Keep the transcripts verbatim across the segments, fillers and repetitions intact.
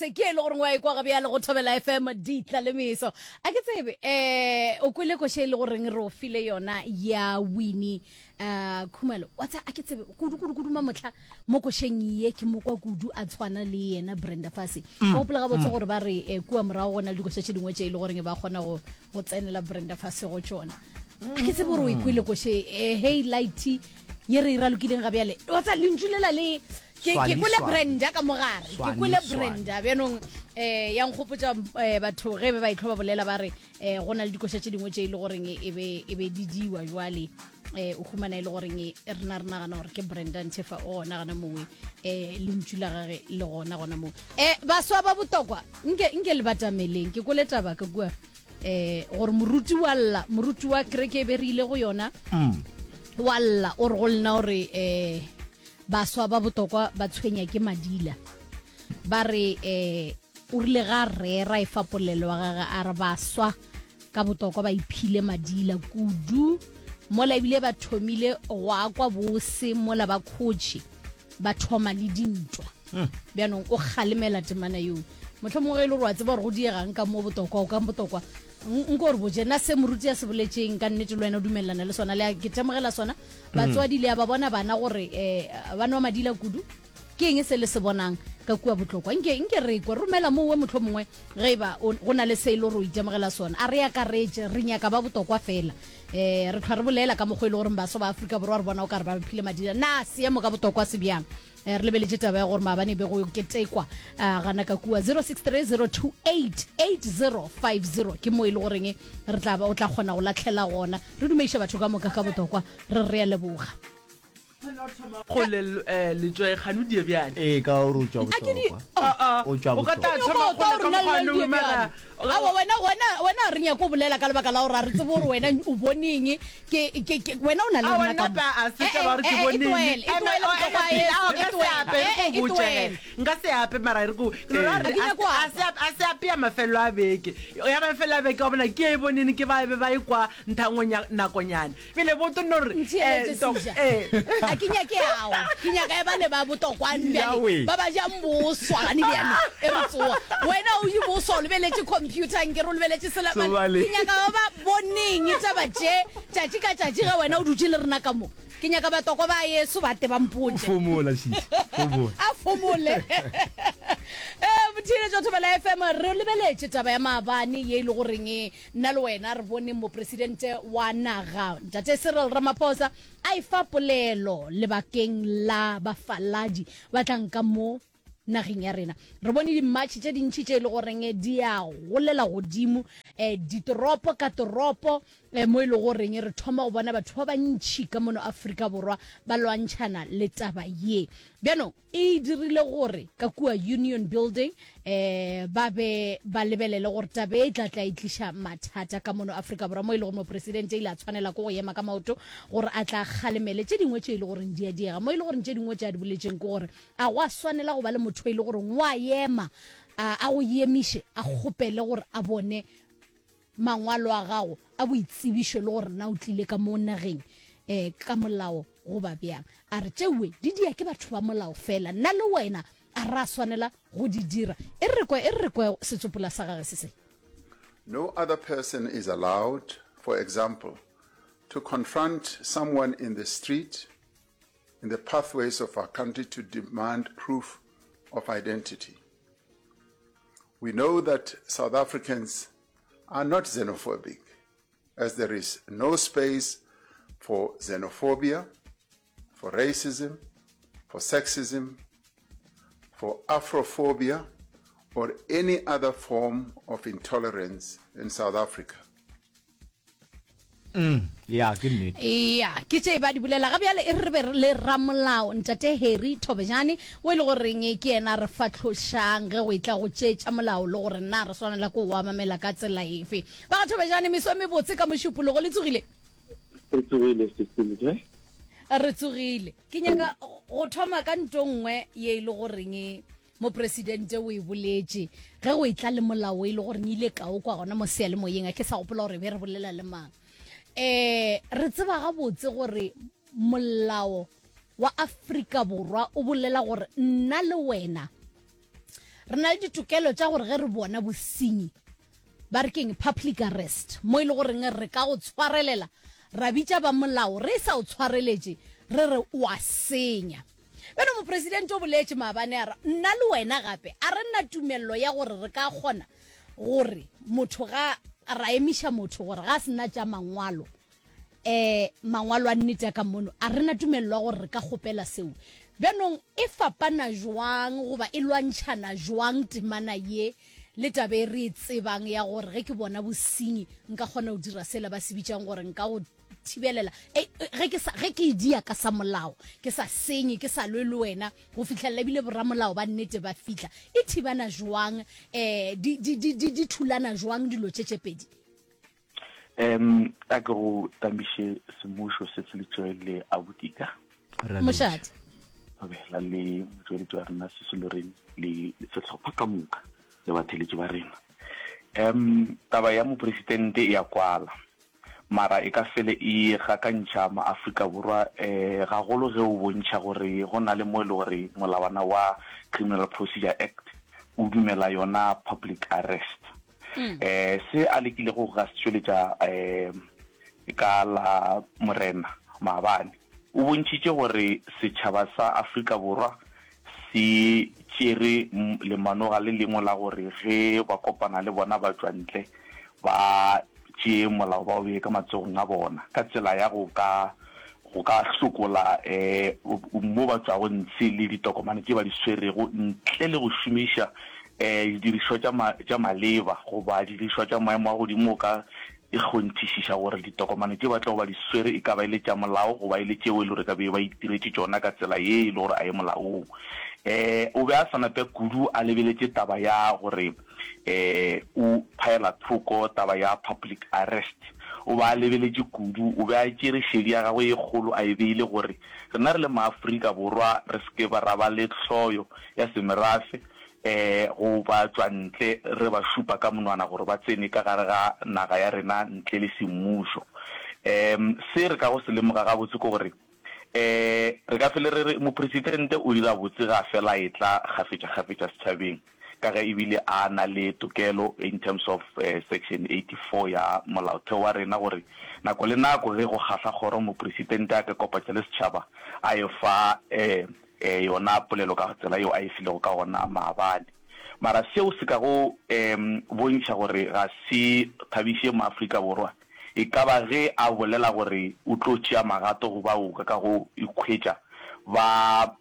Gabotse ke e le gore wa ekwa ga bjale go Thobela F M ditla le meso. A ke tsebe eh o kwele koše e le goreng re o file yona ya Winnie uh Khumalo. Wa tsa a ke tsebe kudu kudu kudu mamotlha mo košeng ye ke mokwa kudu a tshwana le yena Brenda Fassie. Mm. Gopola gabotse mm. gore ba re eh, kua morago go na le dikoša tše dingwe tše e le goreng ba kgona go go tsenela Brenda Fassie go tšona. A ke tsebe gore o ikwele koše eh, hey light ye re e ralokileng ga bjale. Wa tsa lentšu lela le ke ke kwele Brenda ka mogare, ke kwele Brenda bjanong eh ya nkgopotša eh, batho ge be ba itlho ba bolela ba re eh, go na le dikoša tše dingwe tše e le goreng e be e be di diwa jwale eh o humana e le goreng e rena re nagana gore ke Brenda Nthefa o gona gona mowe eh lentšu la gage le gona gona moo. eh baswa ba botokwa nke nke le batameleng ke kwele taba ka kua eh gore moruti wa lla, moruti wa kereke e be re ile go yona mm. wa lla o re go lena gore eh baswa ba botokwa ba tshwenya ke madila. Ba re eh o rile ga rera e fa polelo wa gage a re baswa ka botokwa ba iphile madila kudu mola ebile ba thomile go akwa bose mola ba khotše ba thoma le dintwa. Bjanong o kgalemela temana yeo mohlomongwe ge e le gore wa tseba gore go diegang ka mo botokwa o ka botokwa nko gore botse nna se moruti a se boletseng ka nnete le wena o dumelelana le sona le a ke temogela sona. Batswadi le a ba bona bana gore um ba nwa madila kudu, ke eng se le se bonang ka kua botlokwa? Nke nke re kwe romela mowe motlho mongwe ge e ba go na le se e le gore o itemogela sona. A re akaretše re nyaka ba botokwa fela um re tlhwa re bolela ka mokgwa e le goreng baswa ba Afrika Borwa re bona o ka re ba phile madila, na seemo ka botokwa se bjang? Re lebeletše taba ya gore maabane be go ketekwa gana ka kua zero six three zero two eight eight zero five zero ke mo e le goreng re tla ba o tla kgona go latlhela gona. Re dumeiša batho ka moka ka botokwa re re a leboga. Go le letšoe kgano die bjale. Ee, ka gore o tšwa bohlokwa. O tšwa O ka tla bohlokwa. thoma go le ka mokgwa no mara. Aowa, wena wena wena re nyako bolela ka lebaka la gore a re tsebe gore wena o boneng ke ke ke wena o na le Aowa, rena ka nna mo. pa a se Eh, taba gore eh, ke eh, e boneng. tlohele, e Eme, tlohele o, bohlokwa eme pele, yeso, aowa, e nka se tlohele. ape, re Eh, go eh, e botše ge. tlohele. Nka se ape mara re go ke no ra A re ke a nyako se a apa. se a se ape ya mafelelo a beke. Ya mafelelo a beke wa bona ke e boneng ke ba be ba ekwa nthangwenya nakonyana. Pele boto no re eh Ntheeletše to Seja. eh. A ke nyake ao. Ke nyaka e bale ba botokwane bjale Yahweh. ba ba jang boswa gane bjale e re tsoa. Wena o je boswa o lebeletše computer nke re o lebeletše sela So bale. Ke nyaka ba ba boneng taba tše tšatši ka tšatši ge wena o dutše le rena ka mo. Ke nyaka batokwa ba yeso ba te ba mpotše. Fomola šiši. Fomola. A fomole. Eh motheeletši wa Thobela F M re lebeletše taba ya maabane ye e le goreng nna le wena re bone mopresidente wa naga ntate Cyril Ramaphosa a e fa polelo lebakeng la bafaladi ba tlang ka mo nageng ya rena. Re bone di-march tše dintši tše e le goreng di a golela godimo um ditoropo ka toropo um mo e le goreng re thoma go bona batho ba bantši ka mono Afrika Borwa ba lwantšhana le taba ye. Bjanong e dirile gore ka kua Union Building um ba be ba lebelele gore taba e tla tla e tliša mathata ka mono Afrika Borwa mo e le gore mopresidente ile a tshwanela ke go ema ka maoto gore a tla kgalemele tše dingwe tše e le goreng di a diega, mo e le goreng tše dingwe tše a di boletseng ke gore a go a swanela go ba le motho e le goreng wa ema a a go emiše a kgopele gore a bone mangwalo a gago a boitsebišo le gore na o tlile ka mo nageng eh ka molao goba bjang. A re tšewe di dia ke batho ba molao fela, nna le wena a ra swanela go di dira. E re kwe e re kwe setsopola sa gage se se. No other person is allowed, for example, to confront someone in the street, in the pathways of our country to demand proof of identity. We know that South Africans are not xenophobic, as there is no space for xenophobia, for racism, for sexism, for Afrophobia, or any other form of intolerance in South Africa. Mm, ya ke nnete. Ya ke tše ba di bolela ga bjale e re be le ramolao ntate Harry Thobejane o e le goreng ke yena re fahlošang ge go etla go tše tša molao le gore na re swanela ke go amamela ka tsela efe. Ba ga Thobejane meso e mebotse ka mošupologo le tsogile? Re tsogile sesile. Re tsogile. Ke nyaka go thoma ka nto nngwe ye e le goreng mopresidente o e boletše ge go etla le molao e le goreng ile ka o kwa gona mo seyalemoyeng, a ke sa gopola gore be re bolela le mang. Eh re tseba gabotse gore molao wa Afrika Borwa o bolela gore nna le wena Re na le ditokelo tša gore ge re bona bosenyi, ba re keng, public arrest, mo e le goreng re ka go tshwarelela, ra bitša ba molao re sa o tshwareletše, re re o a senya. Bjalo Mopresidente o boletše maabane a re, nna le wena gape a re na tumello ya gore re ka kgona gore motho ga ra emiša motho gore ga a se na tša mangwalo, um mangwalo a nnete a ka mono, a re na tumello ya gore re ka kgopela seo. Bjanong e fapana jwang goba e lwantšhana jwang temana ye le taba e re e tsebang ya gore ge ke bona bosenyi nka kgona go dira sela ba se bitšang gore nka go thibelela, e, ge ke sa, ge ke e dia ka sa molao, ke sa senye, ke sa lwe le wena go fihlelela ebile boramolao ba nnete ba fihla. E thibana jwang, um di, di, di, di, di thulana jwang dilo tše tše pedi? Um a ke go tamiše semmušo se se letšwe le abutika. Mošate. Thobela le motšweletši wa rena Sisi Lorraine le sehlopha ka moka le batheeletši ba rena. Um taba ya mopresidente e a kwala, mara e ka fele e gakantšha maAfrika Borwa um gagolo ge o bontšha gore go na le mo e le gore molawana wa Criminal Procedure Act o dumela yona public arrest. Um se a lekilego go ka se tšweletša um ka la Morena maabane, o bontšhitše gore setšhaba sa Afrika Borwa se tšere lemanoga le lengwe la gore ge ba kopana le bona batšwantle ba tšee molao ba o bee ka matsogong a bona ka tsela ya go ka go ka hlokola um mo ba tšwago ntshe le ditokomane tše ba di swerego ntle le go šomiša um didirišwa tša tša maleba goba didirišwa tša maemo a godimo go ka e kgonthišiša gore ditokomane tše ba tlogo ba di swere e ka ba e le tša molao goba e le tšeo e le gore ka be ba itiretše tšona ka tsela ye e le gore a ye molaong. Um o be a sa nape kudu a lebeletše taba ya gore um o phaela thoko taba ya public arrest. O be a lebeletše kudu, o be a tšere šedi ya gagwe ye kgolo a e beile gore rena re le maAfrika Borwa re se ke ra ba le hloyo ya semerafe um go ba tšwa ntle re ba šupa ka monwana gore ba tsene ka gare ga naga ya rena ntle le semmušo. Um se re kago se lemoga gabotse ke gore um re ka fele re re mopresidente o dira botse ge a fela a etla kgafetšakgafetša setšhabeng ka ge ebile a na le tokelo in terms of section eighty four ya molaotheo wa rena gore nako le nako ge go kgahla kgoro mopresidente a ka kopatša le setšhaba a e fa um yona polelo ka tsela yeo a e filego ka gona maabane. Mara seo se ka go um bontšha gore ga se thabiše Maafrika Borwa e ka ba ge a bolela gore o tlo tšea magato go bao ka go ikhwetša ba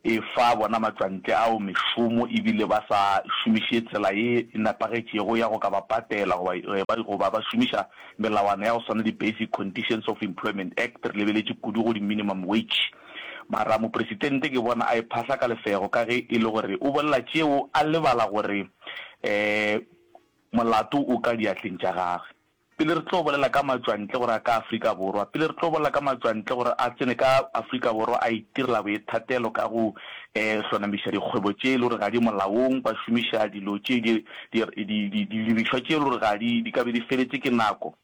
efa bona matšwantle ao mešomo ebile ba sa šomiše tsela ye e nepagetšego ya go ka ba patela goba goba ba šomiša melawana ya go swana le di-Basic Conditions of Employment Act, re lebeletše kudu go di-minimum wage. Mara mopresidente ke bona a e phahla ka lefego ka ge e le gore o bolela tšeo a lebala gore um molato o ka diatleng tša gagwe. Pele re tlo bolela ka matšwantle gore a ka Afrika Borwa, pele re tlo bolela ka matšwantle gore a tsene ka Afrika Borwa a itirela boithatelo ka go um hlonamiša dikgwebo tše e le gore ga di molaong, ba šomiša dilo tše di, di, di, di, didirišwa tše e le gore ga di, di ka be di feletše ke nako.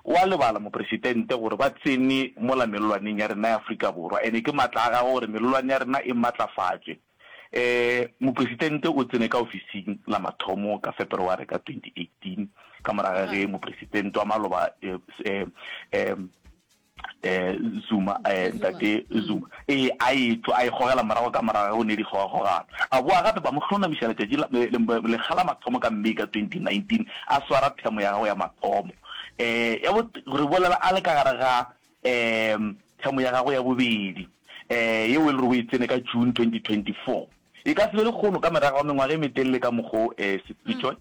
O a lebala mopresidente gore ba tsene mola mellwaneng ya rena ya Afrika Borwa, ene ke matla a gagwe gore mellwane ya rena e matlafatšwe. Um mopresidente o tsene ka ofising la mathomo ka Fepereware ka twenty eighteen, ka morago ga ge mopresidente wa maloba um um um Zuma, um ntate Zuma, ee, a etšwa, a e gogela morago ka morago ga go ne dikgogakgogano. A boa gape ba mo hlonamiša letšatši la, lekga la mathomo ka May ka twenty nineteen, a swara themo ya gagwe ya mathomo. Um ya bo, re bolela a le ka gare ga um themo ya gagwe ya bobedi, um yeo e le gore o e tsene ka June twenty twenty four. E ka se be lekgono ka morago ga mengwaga e metelele ka mokgo um Setswitšwe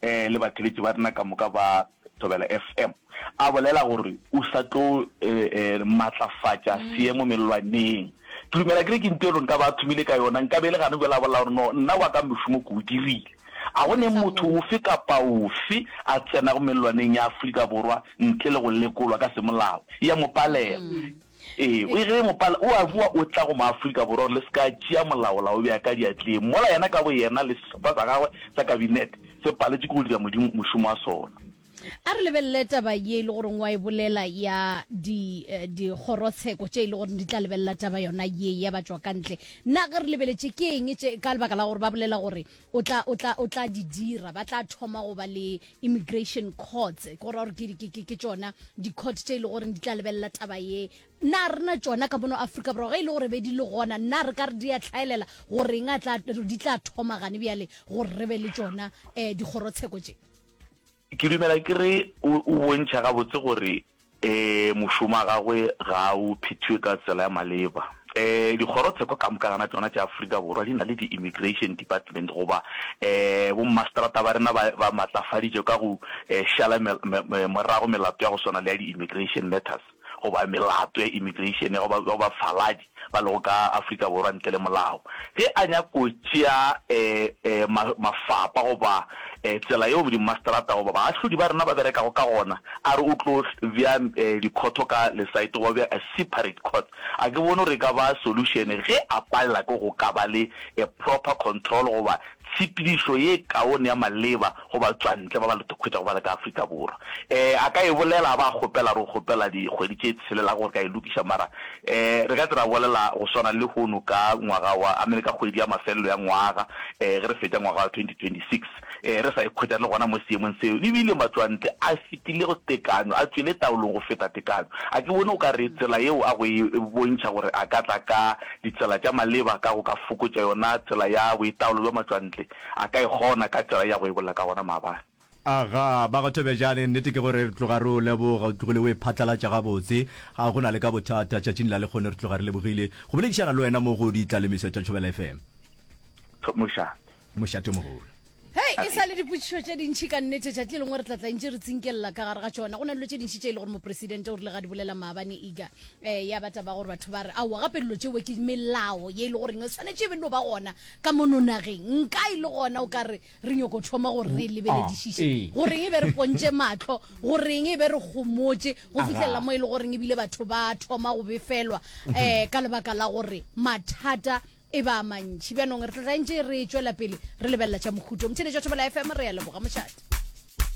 um le batheeletši ba rena ka moka ba Thobela F M a bolela gore o sa tlo um matlafatša seemo mellwaneng. Ke dumela ke re ke nto e le gore nka ba a thomile ka yona, nka be e le gane bjale a bolela gore no nna wa ka mošomo ke o dirile. A go ne motho ofe kapa ofe a tsenago mellwaneng ya Afrika Borwa ntle le go lekolwa ka semolao, e a mo palela. Ee, o ge mopala o a bua o tla go maAfrika Borwa gore le se ka tšea molao la o bea ka diatleng, mola yena ka boyena le sehlopha sa gagwe sa kabinete se paletše ke go dira Modimo mošomo wa sona. A re lebelele taba ye e le goreng wa e bolela ya di eh, dikgorotsheko tše e le goreng di tla lebelela taba yona ye ya batšwa ka ntle. Na ge re lebeletše ke eng tše ka lebaka la gore ba bolela gore o tla o tla o tla di dira, ba tla thoma go ba le immigration courts, ke go ra gore ke ke ke ke tšona di-court tše e le goreng di tla lebelela taba ye. Na rena tšona ka mono Afrika Borwa ge e le gore be di le gona, na re ka re di a hlaelela goreng a tla di tla thoma gane bjale gore re be le tšona um dikgorotsheko tše? Ke dumela ke re o o bontšha gabotse gore um mošomo wa gagwe ga o phethiwe ka tsela ya maleba. Um dikgorotsheko ka moka gana tšona tša Afrika Borwa di na le di-immigration department goba um bommaseterata ba rena ba ba matlafaditše ka go um šala morago melato ya go swana le ya di-immigration matters. goba melato ya immigration ya go ba, go bafaladi ba lego ka Afrika Borwa ntle le molao. Ge a nyako tšea e, e, ma, mafapa goba e, tsela yeo dimmaseterata goba baahlodi ba rena ba berekago ka gona, a re o tlo bea e, dikhotho ka lesaete goba bea a separate court, a ke bone gore e ka ba solution ge a palela ke go ka ba le a proper control goba tshepedišo ye kaone ya maleba go batšwantle ba ba le hwetšago ba le ka Afrika Borwa. Um a ka e bolela a ba a kgopela re o kgopela dikgwedi tše tshelelago gore ka e lokiša mara um re ka tse ra bolela go swana le lehono ka ngwaga wa I mean ka kgwedi ya mafelelo ya ngwaga um ge re fetša ngwaga wa twenty twenty six um re sa ikhwetša re le gona mo seemong seo ebile matšwantle a fetile go tekanyo a tšwele taolong go feta tekanyo. A ke bone o ka re tsela yeo a go e bontšha gore a ka tla ka ditsela tša maleba ka go ka fokotša yona tsela ya boitaolo bja matšwantle, a ka e kgona ka tsela ya go e bolela ka gona maabane. Agaa, ba go Thobejane, nnete ke gore re tloga re o leboga, o tlogile o e phatlalatša gabotse, ga go na le ka bothata, tšatšing la lekgono re tloga re lebogile go boledišana le wena mo go Ditlalemeso tša Thobela F M. Mošate. Mošate o mogolo. Hei, e sa le dipotšišo tše dintši ka nnete, tšatši le lengwe re tla tla ntše re tsinkelela ka gare ga tšona. Go na le dilo tše dintši tše e le gore mopresidente o rile ga di bolela maabane Iga, um ya ba taba gore batho ba re aowa gape dilo tšeo ke melao ye e le goreng e swanetše e be no ba gona ka mono nageng. Nka e le gona o ka re re nyoko thoma gore re e lebeledišiše, goreng e be re pontše mahlo, goreng e be re gomotše go fihlelela mo e le goreng ebile batho ba thoma go befelwa um ka lebaka la gore mathata e ba mantši. Bjanong re tla tla ntše re tšwela pele re lebelela tša mohuto. Motheeletši wa Thobela F M, re a leboga mošate.